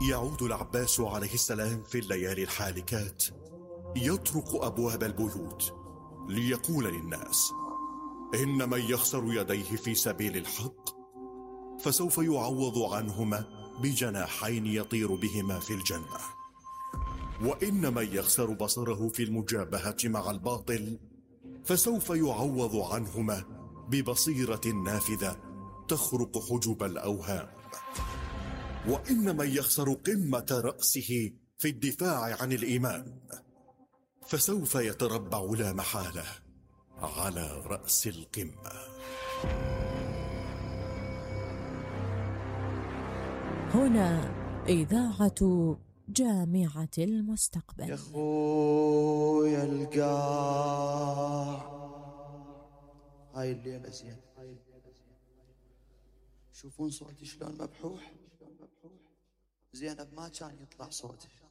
يعود العباس عليه السلام في الليالي الحالكات يطرق أبواب البيوت ليقول للناس: إن من يخسر يديه في سبيل الحق فسوف يعوض عنهما بجناحين يطير بهما في الجنة، وإن من يخسر بصره في المجابهة مع الباطل فسوف يعوض عنهما ببصيرة نافذة تخرق حجب الأوهام، وإن من يخسر قمة رأسه في الدفاع عن الإيمان فسوف يتربع لا محالة على رأس القمة. هنا إذاعة جامعة المستقبل. يا خويا القاع هاي الليلة زين، شوفون صوتي شلون مبحوح. زينب ما كان يطلع صوتها،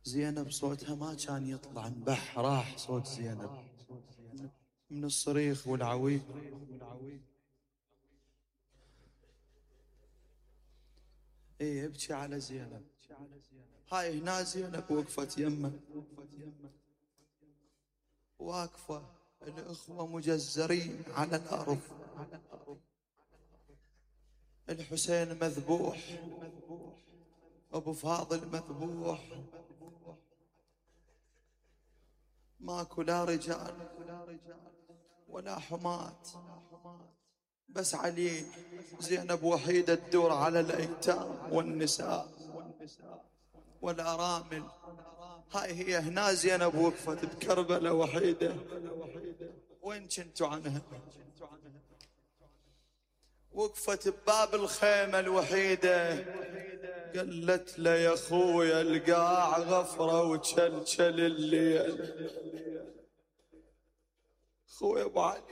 زينب صوتها ما كان يطلع، انبح راح صوت زينب من الصريخ والعويل. ايه ابكي على زينب. هاي هنا زينب وقفت يمه، واقفة الأخوة مجزرين على الأرض، الحسين مذبوح، أبو فاضل مذبوح، ماكو لا رجال ولا حمات، بس علي. زينب وحيدة تدور على الأيتام والنساء والأرامل. هاي هي هنا زينب وقفت بكربلة وحيدة. وين كنتوا عنها؟ وقفت بباب الخيمة الوحيدة، قالت له يا خويا القاع غفرة وشلشل الليل. خويا ابو علي،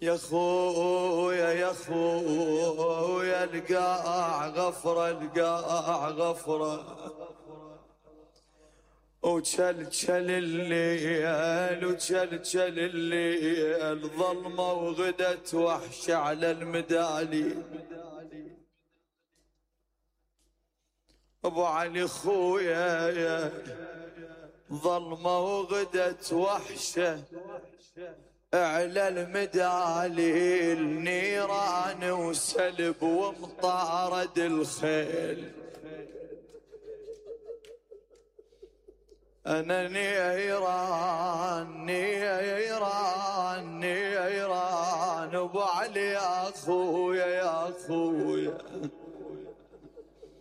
يا خويا يا خويا القاع غفرة، القاع غفرة وشلشل الليل، وشلشل الليل ظلمة وغدت وحش على المدالي. ابو علي خويا ظلمة وغدت وحشة على المدالي، النيران وسلب ومطارد الخيل. أنا نيران نيران نيران، أبو علي يا أخويا يا أخويا